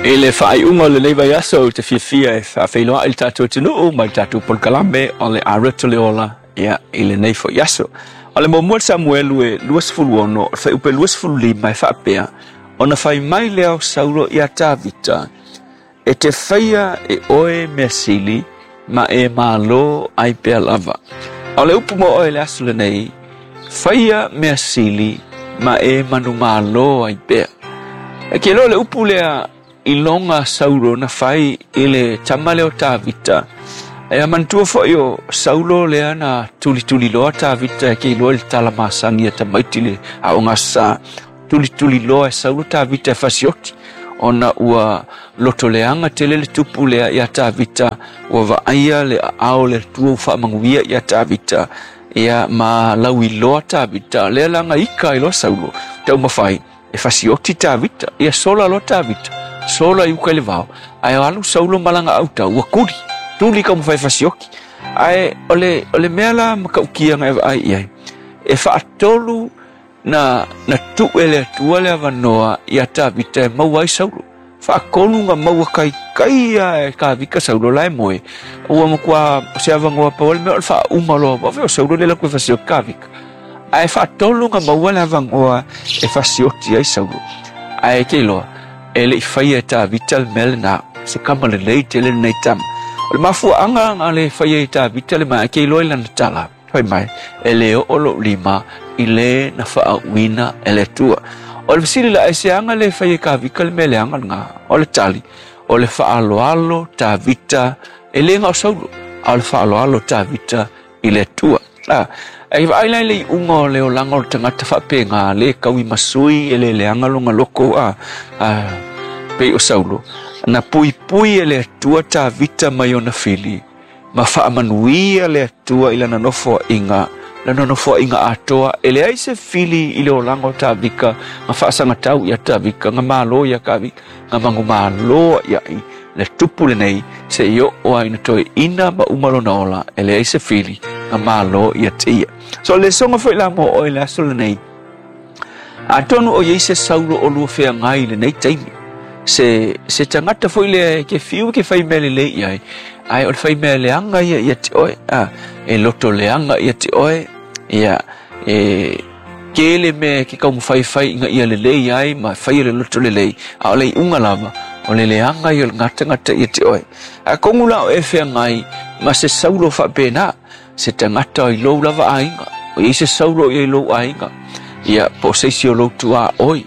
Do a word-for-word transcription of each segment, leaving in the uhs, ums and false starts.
I le faaiuga o lenei vaiaso ou te fiafia e faafeiloai i le tatou atunuu ma le tatou polokalame o le Areto le Ola ia i lenei foi aso. O le muamua Samuelu e luasefulu ono, o le fuaiupu luasefulu lima e faapea, ona fai mai lea o Saulo ia Tavita, e te faia e oe mea sili, ma e malo ai pea lava. O le upu mo oe le aso lenei, faia mea sili, ma e manumalo ai pea. E ke loa le upu lea iloga Saulo na fai i le tama lea o Tavita. E manatua foi o Saulo lea na tulituliloa Tavita e ke iloa i le tala masani a tamaiti le aoga sa. Tulituliloa e Saulo Tavita e fasioti. Ona ua lotoleaga tele le tupu lea ia Tavita, ua vaaia le aao le Atua ua faamanuia ia Tavita. Ia ma lauiloa Tavita, lea laga ika ai loa Saulo, taumafai e fasioti Tavita, ia sola loa Tavita, sola i uka i le vao, ae alu Saulo ma lana autau, ua tuli, tuli taumafai e fasioti. Ae o le, o le mea la matautia na e vaai i ai, e faatolu na, na tuu e le Atua le avanoa ia Tavita e maua ai Saulo. Faatolu na maua kaikai ia e Tavita Saulo la e moe. Ua matua se avanoa pau le mea o le faauma loa, ua o Saulo le laku e fasioti Tavita. Ae faatolu na maua le avanoa e fasioti ai Saulo. Ae ke iloa, e le i faia e Tavita le mea lena, se kama lelei tele lenei tama. O le mafuaaga na le faia e Tavita le mea, ke iloa i lana tala. Fai mai, e le oo lou lima i le na faauuina e le Atua. O le fesili la, e se aga le faia e Tavita le mea leaga lena? O le tali, o le faaaloalo Tavita, e le na o Saulo, a o le faaaloalo Tavita i le Atua. Ah, e vaai la i le iuga o le olaga o le tagata faapena, le tauimasui e le leaga lona loko a, a pei o Saulo. Na puipui e le Atua Tavita mai ona fili, ma faamanuia le Atua i lana nofoaiga, lana nofoaiga atoa, e leai se fili i le olaga o Tavita, ma faasagatau ia Tavita, na malo ia Tavita, na manumalo ia i le tupu lenei, se i oo ai na toeaina ma uma lona ola, e leai se fili, na malo ia te ia. So le soga foi la mo oe le aso lenei, atonu o iai se Saulo o lua feagai i lenei taimi, se, se tagata foi lea ke fiu ke fai mea lelei i ai, ae o le fai mea leaga ia ia te oe, a, e loto leaga ia te oe, ia, e tele mea ke taumafai ina ia lelei ai ma faia le loto lelei, a o le iuga lava, o le leaga ia o le gatagata ia te oe. Atonu la o e feagai ma se Saulo faapena, se tagata i lou lava aiga, o iai se Saulo ia i lou aiga, ia po o se isi o lou tuaoi,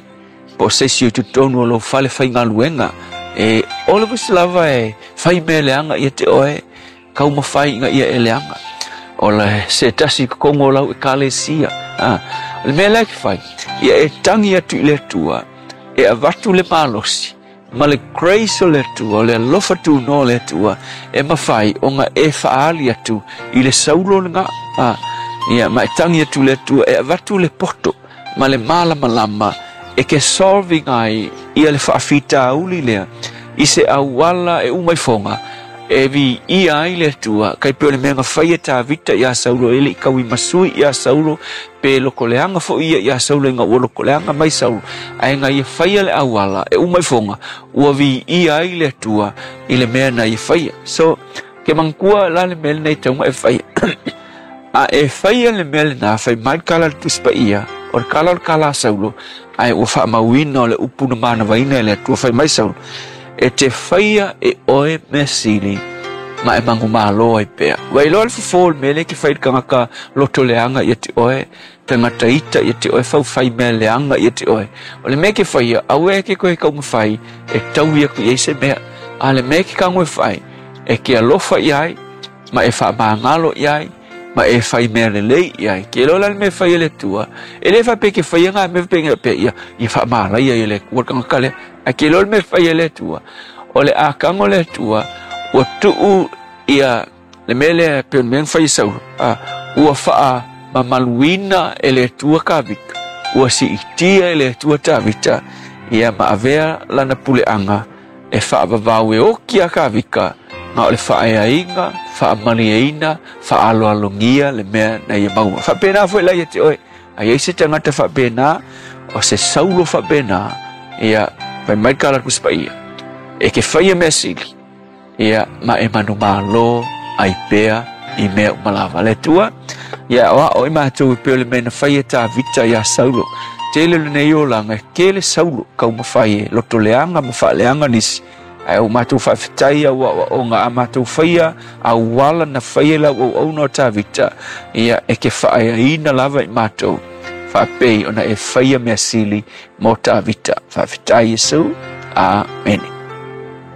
po o se isi o totonu o lou fale faigaluega, e o le visi lava e fai mea leaga ia te oe, taumafai ina ia e leaga. O le se tasi i totonu o lau ekalesia. Ah, o le mea lea ke fai, ia e tagi atu i le Atua, e avatu le malosi, ma le grace o le Atua, o le alofa tunoa o le Atua, e mafai ona e faaali atu i le Saulo lena. Ah, ia, ma e tagi atu le Atua, e avatu le poto, ma le malamalama, e ke solving ai ia le faafitauli lea, i se auala e uma i foga, e vi ia ai le Atua, kai pe o le mea na faia Tavita ia Saulo, e le i tauimasui ia Saulo, pe lokoleaga foi ia ia Saulo, ina ua lokoleaga mai Saulo, ae na ia faia le auala, e uma i foga, ua vi ia ai le Atua i le mea na ia faia. So, ke manatua la le mea lenei tauga e faia. A e faia le mea lena, fai mai le kala le Tusi Paia, o le kala o le kala a Saulo, ae ua faamauina o le upu na manavaina e le Atua, fai mai Saulo, e te faia e oe mea sili, ma e manumalo ai pea. Ua iloa le fofo o le mea lea ke fai le tagata loto leaga ia te oe, tagata ita ia te oe, faufai mea leaga ia te oe. O le mea ke faia, aua e ke koe taumafai, e taui atu i ai se mea. A le mea ke tago e fai, e ke alofa i ai, ma e faamagalo i ai, ma e fai mea lelei i ai. Ke iloa la le mea e fai e le Atua, e le faapea ke faia ngā mea faapea pea ia, ia faamalaia i le Atua le tagata lea. Ae ke iloa le mea e fai e le Atua, o le akaga o le Atua, ua tuu ia le mea lea pe o le mea na fai e Saulo, a, ua faamamaluina e le Atua Tavita, ua siitia e le Atua Tavita, ia ma avea lana puleaga e faavavau e oki a Tavita, ma o le faaeaina, faamalieina, faaloalogia le mea na ia maua. Faapena foi la ia te oe, a iai se tagata faapena, o se Saulo faapena, ia fai mai le kala Tusi Paia, E ke faia mea sili, ia ma e manumalo ai pea i mea uma lava. Le Atua, ia o ao i matou e pei o le mea na faia Tavita iā Saulo. Tele lenei olaga, e tele Saulo taumafai e lotoleaga ma faaleaga nisi. Ae ua matou faafetai au aoaoga a matou faia auala na faia i lau auauna o Tavita, ia e ke faaeaina lava i matou, faapei ona e faia mea sili mo Tavita. Faafetai Iesu. Amene.